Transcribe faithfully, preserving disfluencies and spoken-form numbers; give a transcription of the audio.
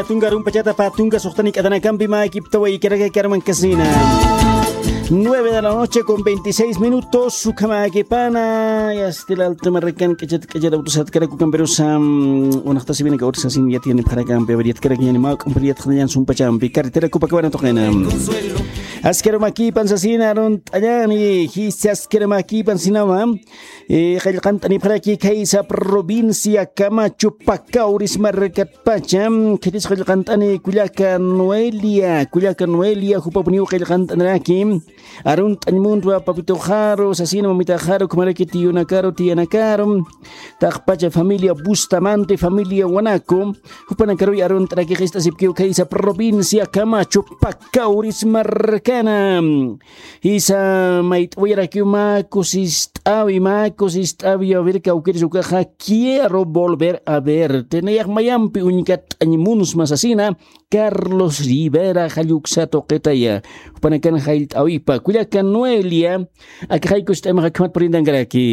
Tunka rumpachata pä tunka suxtani k'atanakampi mäkiptaway karaka karman kasina. Nueve de la noche con veintiséis minutos, ukhamäkipana. Yastilal tumarrakan k'achat k'achat autosat karakukampirusa. Unaqtasiwinaka ursasin yatiyanipxarakampi aver yatkarakñani mä k'umpir yatxañan sumpachampi carretera kupakabana tuqina. Askarumakipan sasina arunt'añani jisi askarumakipan sinawa. Qallqant'anipxaraki khaysa provincia Camacho Pacauris markatpacha. Khitis qallqant'ani kullaka Noelia kullaka Noelia jupapuniw qallqant'aniraki. Arunt'añ muntwa papituxaru sasina mamitaxaru ukhamaraki tiyunakaru tiyanakaru. Taqpacha familia Bustamante familia Wanaco. Jupanakaruy arunt'anaki qist'asipkiw khaysa provincia Camacho Pacauris markana. Jisa mayt'awayarakiw mä kusist'awi mä kusist'awi a ver kawkirisukaxa quiero volver a ver tenayax mayampi uñkat'añ munsma sasina. Carlos Rivera jalluksa tuqitaya. Jupanakan jallt'awipa kullaka Noelia. Akixay kusist'aymaxa khamat purintankaraki.